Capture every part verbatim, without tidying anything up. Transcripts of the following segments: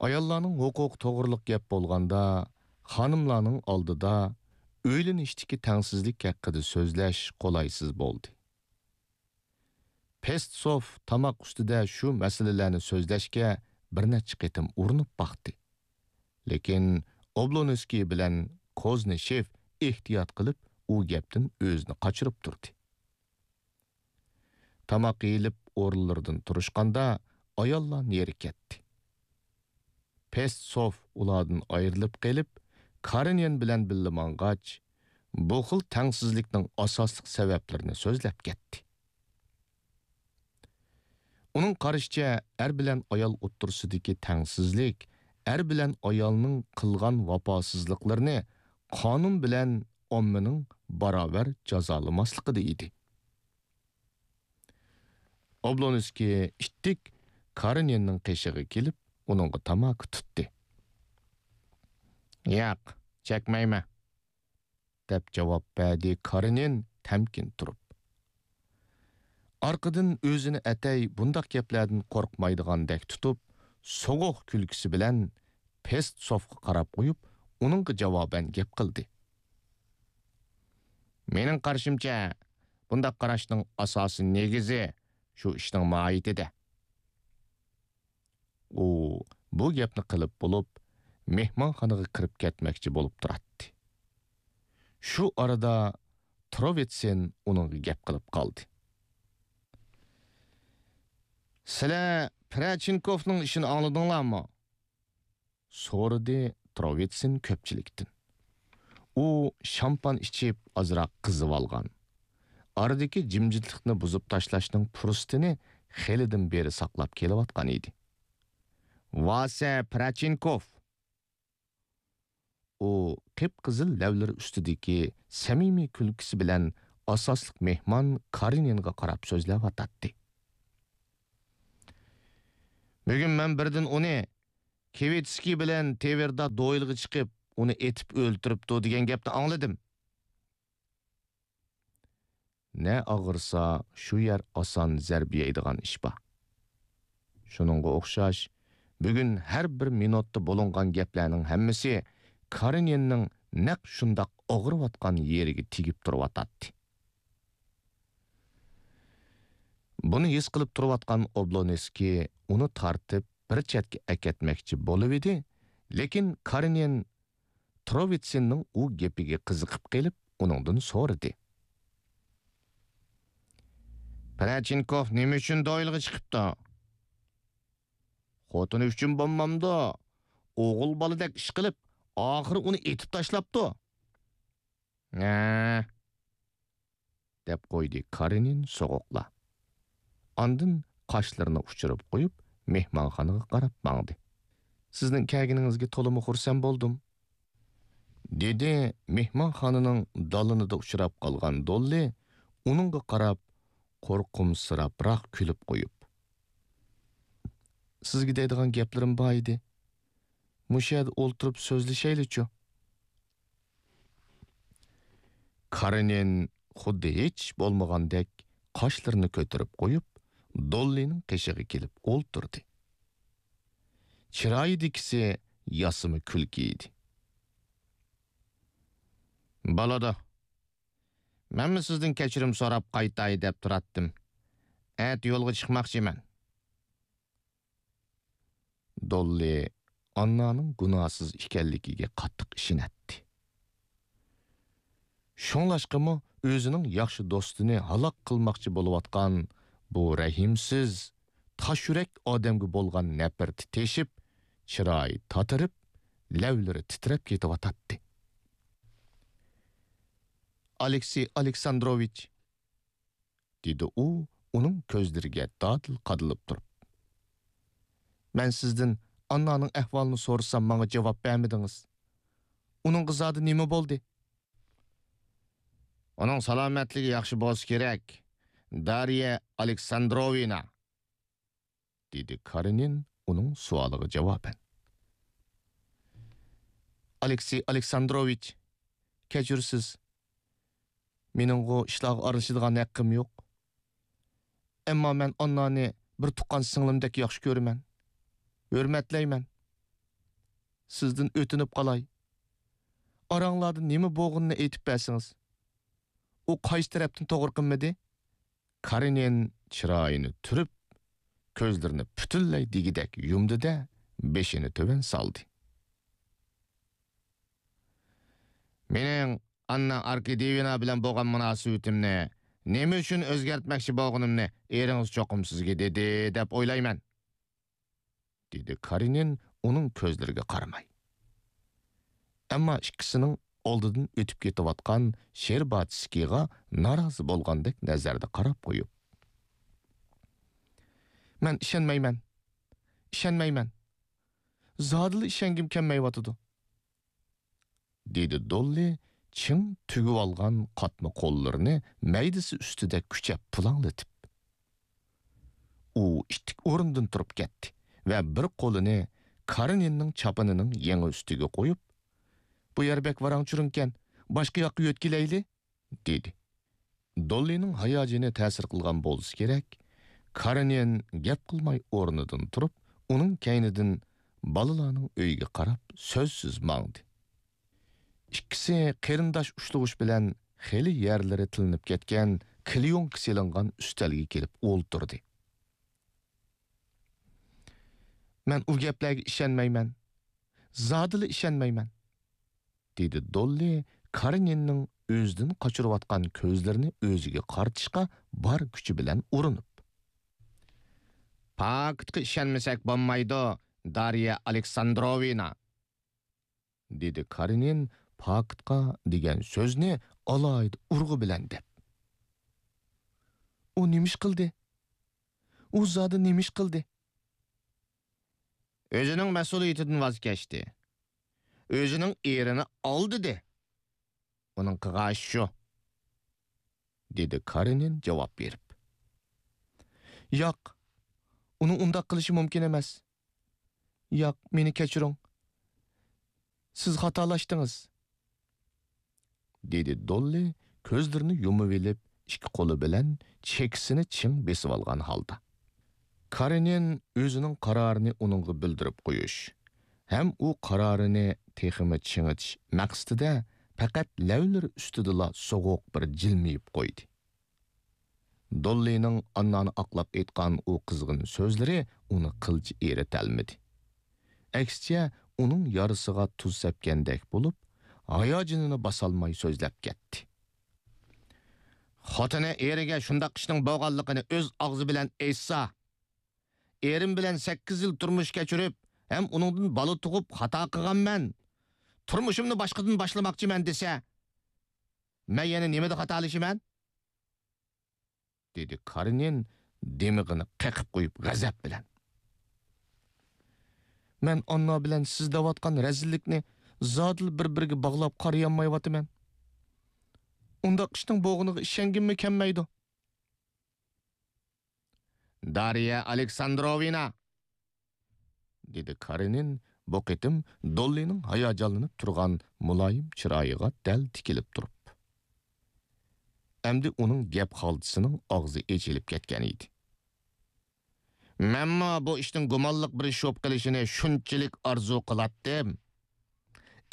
ئاياللارنىڭ ھوقۇقى توغرىلىق گەپ بولغاندا، خانىملارنىڭ ئالدىدا ئۆيلىنىشتىكى تەڭسىزلىك ھەققىدە سۆزلەش قولايسىز بولدى. پېستسوف تاماق ئۈستىدە شۇ مەسىلىلەرنى سۆزلەشكە بىر نەچچە قېتىم ئۇرۇنۇپ باقتى. لېكىن ئوبلونسكىي بىلەن كوزنىشېف ئېھتىيات قىلىپ، ئۇ گەپتىن ئۆزىنى قاچۇرۇپ تۇردى. تاماق يېيىلىپ ئورۇنلىرىدىن تۇرۇشقاندا، ئاياللار نېرى كەتتى. پېستسوف ئۇلاردىن ئايرىلىپ قېلىپ، كارېنىن بىلەن بىللە ماڭغاچ، بۇ خىل تەڭسىزلىكنىڭ ئاساسلىق سەۋەبلىرىنى سۆزلەپ كەتتى. ئۇنىڭ قارىشىچە، ئەر بىلەن ئايال ئوتتۇرىسىدىكى تەڭسىزلىك ئەر بىلەن ئايالنىڭ قىلغان ۋاپاسىزلىقلىرىنى قانۇن بىلەن ئاممىنىڭ باراۋەر جازالىماسلىقىدا ئىدى. ئوبلونسكىي ئىتتىك كارېنىننىڭ قېشىغا كېلىپ، ئۇنىڭغا تاماكا تۇتتى. «ياق، چەكمەيمەن.» دەپ جاۋاب بەردى كارېنىن تەمكىن تۇرۇپ. ئارقىدىن ئۆزىنى ئەتەي بۇنداق گەپلەردىن قورقمايدىغاندەك تۇتۇپ، سوغۇق كۈلكىسى بىلەن پېستسوفقا قاراپ قويۇپ، ئۇنىڭغا جاۋابەن گەپ قىلدى. «مېنىڭ قارىشىمچە، بۇنداق قاراشنىڭ ئاساسىي نېگىزى شۇ ئىشنىڭ ماھىيىتىدە.» ئۇ بۇ گەپنى قىلىپ بولۇپ، مېھمانخانىغا كىرىپ كەتمەكچى بولۇپ تۇراتتى. شۇ ئارىدا تروۋىتسىن ئۇنىڭغا گەپ قىلىپ قالدى. «سىلەر پىرەچىنكوفنىڭ ئىشىنى ئاڭلىدىڭلارمۇ؟» سورىدى تروۋىتسىن كۆپچىلىكتىن. ئۇ شامپان ئىچىپ، ئازراق قىزىۋالغان. ئارىدىكى جىمجىتلىقنى بۇزۇپ تاشلاشنىڭ پۇرسىتىنى خېلىدىن بېرى ساقلاپ كېلىۋاتقان ئىدى. «ۋاسە پىرەچىنكوف!» ئۇ قىپقىزىل لەۋلىرى ئۈستىدىكى سەمىمىي كۈلكىسى بىلەن ئاساسلىق مېھمان كارېنىنغا قاراپ سۆزلەۋاتاتتى. «بۈگۈن مەن بىردىن ئۇنى كىۋىتسكىي بىلەن تېۋىردا دويلىغا چىقىپ، ئۇنى ئېتىپ ئۆلتۈرۈپتۇ دېگەن گەپنى ئاڭلىدىم.» نە ئاغرىسا، شۇ يەر ئاسان زەربە يەيدىغان ئىش بار. شۇنىڭغا ئوخشاش، بۈگۈن ھەر بىر مىنۇتتا بولۇنغان گەپلەرنىڭ ھەممىسى كارېنىننىڭ نەق شۇنداق ئاغرىۋاتقان يېرىگە تېگىپ تۇرۇۋاتاتتى. بۇنى ھېس قىلىپ تۇرۇۋاتقان ئوبلونسكىي ئۇنى تارتىپ بىر چەتكە ئەكەتمەكچى بولۇۋىدى، لېكىن كارېنىن تروۋىتسىننىڭ ئۇ گېپىگە قىزىقىپ قېلىپ، ئۇنىڭدىن سورىدى. «پىرەچىنكوف نېمە ئۈچۈن دويلىغا چىقىپتۇ؟ خوتۇنى ئۈچۈن بولمامدۇ؟ ئوغۇل بالىدەك ئىش قىلىپ، ئاخىرى ئۇنى ئېتىپ تاشلاپتۇ.» «ھە؟» دەپ قويدى كارېنىن سوغۇقلا. ئاندىن قاشلىرىنى ئۇچۇرۇپ قويۇپ، مېھمانخانىغا قاراپ ماڭدى. «سىزنىڭ كەلگىنىڭىزگە تولىمۇ خۇرسەن بولدۇم.» دېدى مېھمانخانىنىڭ دالىنىدا ئۇچراپ قالغان دوللى ئۇنىڭغا قاراپ، قورقۇمسىراپراق كۈلۈپ قويۇپ. «سىزگە دەيدىغان گەپلىرىم بار ئىدى. مۇشۇ يەردە ئولتۇرۇپ سۆزلىشەيلىچۇ.» كارېنىن خۇددى ھېچ بولمىغاندەك قاشلىرىنى كۆتۈرۈپ قويۇپ، دوللىنىڭ قېشىغا كېلىپ ئولتۇردى. چىرايىدىكىسى ياسىما كۈلكە ئىدى. «بولىدۇ. مەنمۇ سىزدىن كەچۈرۈم سوراپ قايتاي دەپ تۇراتتىم. ئەتە يولغا چىقماقچىمەن.» دوللى ئاننانىڭ گۇناھسىز ئىكەنلىكىگە قاتتىق ئىشىنەتتى. شۇڭلاشقىمۇ ئۆزىنىڭ ياخشى دوستىنى ھالاك قىلماقچى بولۇۋاتقان بۇ رەھىمسىز، تاش يۈرەك ئادەمگە بولغان نەپرىتى تېشىپ، چىرايى تاتىرىپ، لەۋلىرى تىترەپ كېتىۋاتاتتى. «ئالېكسېي ئالېكساندروۋىچ!» دېدى ئۇ ئۇنىڭ كۆزلىرىگە دادىل قادىلىپ تۇرۇپ. «مەن سىزدىن ئاننانىڭ ئەھۋالىنى سورىسام، ماڭا جاۋاب بەرمىدىڭىز. ئۇنىڭغا زادى نېمە بولدى؟» «ئۇنىڭ سالامەتلىكى ياخشى بولسا كېرەك، دارىيە ئالېكساندروۋنا.» دېدى كارېنىن ئۇنىڭ سوئالىغا جاۋابەن. «ئالېكسېي ئالېكساندروۋىچ، كەچۈرىسىز. مېنىڭغۇ ئىشلارغا ئارىلىشىدىغان ھەققىم يوق. ئەمما مەن ئاننانى بىر تۇغقان سىڭلىمدەك ياخشى كۆرىمەن، ھۆرمەتلەيمەن. سىزدىن ئۆتۈنۈپ قالاي. ئاراڭلاردا نېمە بولغىنىنى ئېيتىپ بەرسىڭىز. ئۇ قايسى تەرەپتىن توغرا قىلمىدى؟ كارېنىن چىرايىنى تۈرۈپ، كۆزلىرىنى پۈتۈنلەي دېگۈدەك يۇمدى-دە، بېشىنى تۆۋەن سالدى. مېنىڭ ئاننا ئاركادىيېۋنا بىلەن بولغان مۇناسىۋىتىمنى نېمە ئۈچۈن ئۆزگەرتمەكچى بولغىنىمنى ئېرىڭىز چوقۇم سىزگە دېدى دەپ ئويلايمەن، دېدى كارېنىن ئۇنىڭ كۆزلىرىگە قارىماي. ئەمما ئىككىسىنىڭ ئالدىدىن ئۆتۈپ كېتىۋاتقان شېرباتسكىيغا نارازى بولغاندەك نەزەردە قاراپ قويۇپ. مەن ئىشەنمەيمەن. ئىشەنمەيمەن. زادىلا ئىشەنگۈم كەلمەيۋاتىدۇ. دېدى دوللى چىڭ تۈگۈۋالغان قاتما قوللىرىنى مەيدىسى ئۈستىدە كۈچەپ پۇلاڭلىتىپ. ئۇ ئىتتىك ئورنىدىن تۇرۇپ كەتتى ۋە بىر قولىنى كارېنىننىڭ چاپىنىنىڭ يېڭى ئۈستىگە قويۇپ، بۇ يەر بەك ۋاراڭ-چۇرۇڭكەن، باشقا ياققا يۆتكىلەيلى، دېدى. دوللىنىڭ ھاياجىنى تەسىر قىلغان بولسا كېرەك، كارېنىن گەپ قىلماي ئورنىدىن تۇرۇپ، ئۇنىڭ كەينىدىن بالىلارنىڭ ئۆيىگە قاراپ سۆزسىز ماڭدى. ئىككىسى قېرىنداش ئۇشلىغۇچ بىلەن خېلى يەرلىرى تىلىنىپ كەتكەن كلېيونكا سېلىنغان ئۈستەلگە كېلىپ ئولتۇردى. مەن ئۇ گەپلەرگە ئىشەنمەيمەن. زادىلا ئىشەنمەيمەن. دېدى دوللى كارېنىننىڭ ئۆزىدىن قاچۇرۇۋاتقان كۆزلىرىنى ئۆزىگە قارىتىشقا بار كۈچى بىلەن ئۇرۇنۇپ. پاكىتقا ئىشەنمىسەك بولمايدۇ، دارىيە ئالېكساندروۋنا، دېدى كارېنىن پاكىتقا دېگەن سۆزنى ئالاھىدە ئۇرغۇ بىلەن دەپ. ئۇ نېمە ئىش قىلدى؟ ئۇ زادى نېمە ئىش قىلدى؟ ئۆزىنىڭ مەسئۇلىيىتىدىن ۋاز كەچتى. ئۆزىنىڭ ئېرىنى ئالدىدى. ئۇنىڭ قىلغان ئىشى شۇ، دېدى كارېنىن جاۋاب بېرىپ. ياق، ئۇنىڭ ئۇنداق قىلىشى مۇمكىن ئەمەس. ياق، مېنى كەچۈرۈڭ. سىز خاتالاشتىڭىز. دېدى دوللى كۆزلىرىنى يۇمۇۋېلىپ، ئىككى قولى بىلەن چېكىسىنى چىڭ بېسىۋالغان ھالدا. كارېنىن ئۆزىنىڭ قارارىنى ئۇنىڭغا بىلدۈرۈپ قويۇش ھەم ئۇ قارارىنى تېخىمۇ چىڭىتىش مەقسىتىدە پەقەت لەۋلىرى ئۈستىدىلا سوغۇق بىر جىلمىيىپ قويدى. دوللىنىڭ ئاننانى ئاقلاپ ئېيتقان ئۇ قىزغىن سۆزلىرى ئۇنى قىلچە ئېرىتەلمىدى. ئەكسىچە، ئۇنىڭ يارىسىغا تۇز سەپكەندەك بولۇپ، ھاياجىنىنى باسالماي سۆزلەپ كەتتى. خوتۇنى ئېرىگە شۇنداق ئىشنىڭ بولغانلىقىنى ئۆز ئاغزى بىلەن ئېيتسا، ئېرىم بىلەن سەككىز يىل تۇرمۇش كەچۈرۈپ، ھەم ئۇنىڭدىن بالا تۇغۇپ خاتا قىلغانمەن، تۇرمۇشۇمنى باشقىدىن باشلىماقچىمەن دېسە، مەن يەنە نېمىدە خاتالىشىمەن؟ دېدى كارېنىن دىمىقىنى قېقىپ قويۇپ غەزەپ بىلەن. مەن ئاننا بىلەن سىز دەۋاتقان رەزىللىكنى زادىلا بىر-بىرىگە باغلاپ قارىيالمايۋاتىمەن. ئۇنداق ئىشنىڭ بولغىنىغا ئىشەنگۈممۇ كەلمەيدۇ. دارىيە ئالېكساندروۋنا! دېدى كارېنىن بۇ قېتىم دوللىنىڭ ھاياجانلىنىپ تۇرغان مۇلايىم چىرايىغا دەل تىكىلىپ تۇرۇپ. ئەمدى ئۇنىڭ گەپ خالتىسىنىڭ ئاغزى ئېچىلىپ كەتكەن ئىدى. مەنمۇ بۇ ئىشنىڭ گۇمانلىق بىر ئىش بولۇپ قېلىشىنى شۇنچىلىك ئارزۇ قىلاتتىم.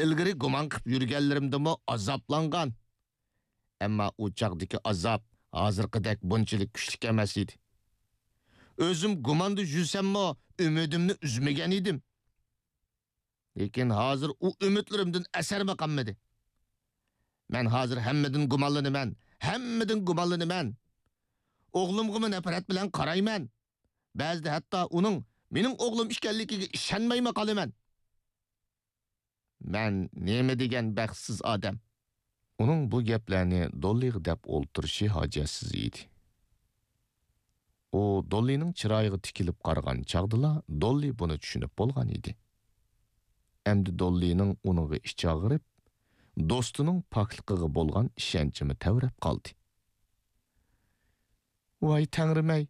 ئىلگىرى گۇمان قىلىپ يۈرگەنلىرىمدىمۇ ئازابلانغان. ئەمما ئۇ چاغدىكى ئازاب ھازىرقىدەك بۇنچىلىك كۈچلۈك ئەمەس ئىدى. ئۆزۈم گۇماندا يۈرسەممۇ، ئۈمىدىمنى ئۈزمىگەن ئىدىم. لېكىن ھازىر ئۇ ئۈمىدلىرىمدىن ئەسەرمۇ قالمىدى. مەن ھازىر ھەممىدىن گۇمانلىنىمەن، ھەممىدىن گۇمانلىنىمەن. ئوغلۇمغىمۇ نەپرەت بىلەن قارايمەن. بەزىدە ھەتتا ئۇنىڭ مېنىڭ ئوغلۇم ئىكەنلىكىگە ئىشەنمەيمۇ قالىمەن. مەن نېمە دېگەن بەختسىز ئادەم! ئۇنىڭ بۇ گەپلەرنى دوللىغا دەپ ئولتۇرۇشى ھاجەتسىز ئىدى. ئۇ دوللىنىڭ چىرايىغا تىكىلىپ قارىغان چاغدىلا دوللى بۇنى چۈشىنىپ بولغان ئىدى. ئەمدى دوللىنىڭ ئۇنىڭغا ئىچى ئاغرىپ، دوستىنىڭ پاكلىقىغا بولغان ئىشەنچىمۇ تەۋرەپ قالدى. ۋاي تەڭرىم-ئەي!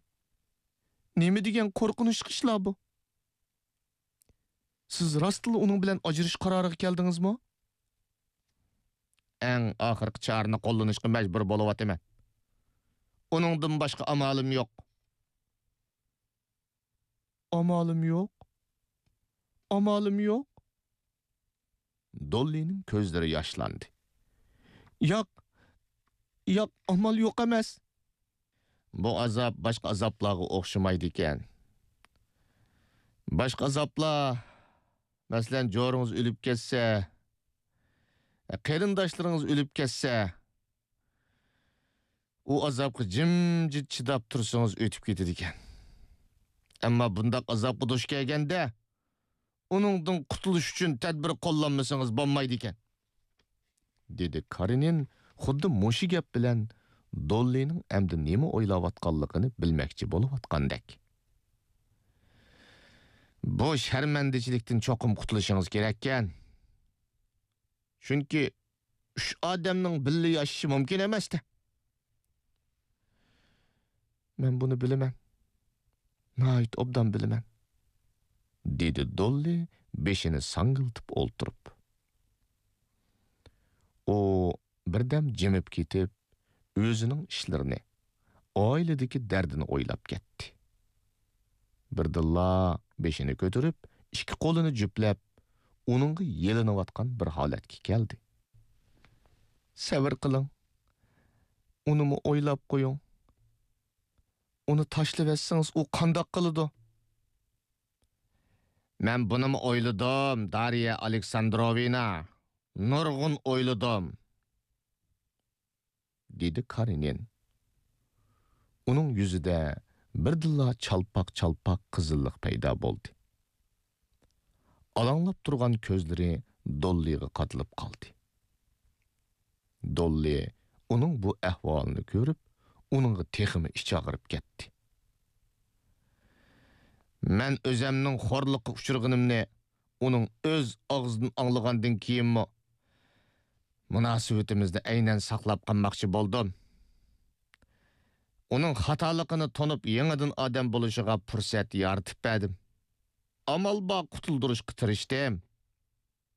نېمە دېگەن قورقۇنچلۇق ئىشلار بۇ! سىز راستلا ئۇنىڭ بىلەن ئاجرىشىش قارارىغا كەلدىڭىزمۇ؟ ئەڭ ئاخىرقى چارىنى قوللىنىشقا مەجبۇر بولۇۋاتىمەن. ئۇنىڭدىن باشقا ئامالىم يوق. ئامالىم يوق؟ ئامالىم يوق؟ دوللىنىڭ كۆزلىرى ياشلاندى. ياق، ياق، ئامال يوق ئەمەس. بۇ ئازاب باشقا ئازابلارغا ئوخشىمايدىكەن. باشقا ئازابلار، مەسىلەن، جورىڭىز ئۆلۈپ كەتسە، قېرىنداشلىرىڭىز ئۆلۈپ كەتسە، ئۇ ئازابقا جىمجىت چىداپ تۇرسىڭىز ئۆتۈپ كېتىدىكەن. ئەمما بۇنداق ئازابقا دۇچ كەلگەندە، ئۇنىڭدىن قۇتۇلۇش ئۈچۈن تەدبىر قوللانمىسىڭىز بولمايدىكەن، دېدى كارېنىن خۇددى مۇشۇ گەپ بىلەن دوللىنىڭ ئەمدى نېمە ئويلاۋاتقانلىقىنى بىلمەكچى بولۇۋاتقاندەك. بۇ شەرمەندىچىلىكتىن چوقۇم قۇتۇلۇشىڭىز كېرەككەن. چۈنكى ئۈچ ئادەمنىڭ بىللە ياشىشى مۇمكىن ئەمەستە. مەن بۇنى بىلىمەن. ناھايىتى ئوبدان بىلىمەن، دېدى دوللى بېشىنى ساڭگىلتىپ ئولتۇرۇپ. ئۇ بىردەم جىمىپ كېتىپ، ئۆزىنىڭ ئىشلىرىنى، ئائىلىدىكى دەردىنى ئويلاپ كەتتى. بىردىنلا بېشىنى كۆتۈرۈپ، ئىككى قولىنى جۈپلەپ، ئۇنىڭغا يېلىنىۋاتقان بىر ھالەتكە كەلدى. سەۋر قىلىڭ. ئۇنىمۇ ئويلاپ قويۇڭ. ئۇنى تاشلىۋەتسىڭىز، ئۇ قانداق قىلىدۇ؟ مەن بۇنىمۇ ئويلىدىم، دارىيە ئالېكساندروۋنا. نۇرغۇن ئويلىدىم، دېدى كارېنىن. ئۇنىڭ يۈزىدە بىردىنلا چالپاق-چالپاق قىزىللىق پەيدا بولدى. ئالاڭلاپ تۇرغان كۆزلىرى دوللىغا قادىلىپ قالدى. دوللى ئۇنىڭ بۇ ئەھۋالىنى كۆرۈپ، ئۇنىڭغا تېخىمۇ ئىچى ئاغرىپ كەتتى. مەن ئۆزەمنىڭ خورلۇققا ئۇچرىغىنىمنى ئۇنىڭ ئۆز ئاغزىدىن ئاڭلىغاندىن كېيىنمۇ مۇناسىۋىتىمىزنى ئەينەن ساقلاپ قالماقچى بولدۇم. ئۇنىڭ خاتالىقىنى تونۇپ، يېڭىدىن ئادەم بولۇشىغا پۇرسەت يارىتىپ بەردىم. ئامال بار قۇتۇلدۇرۇشقا تىرىشتىم.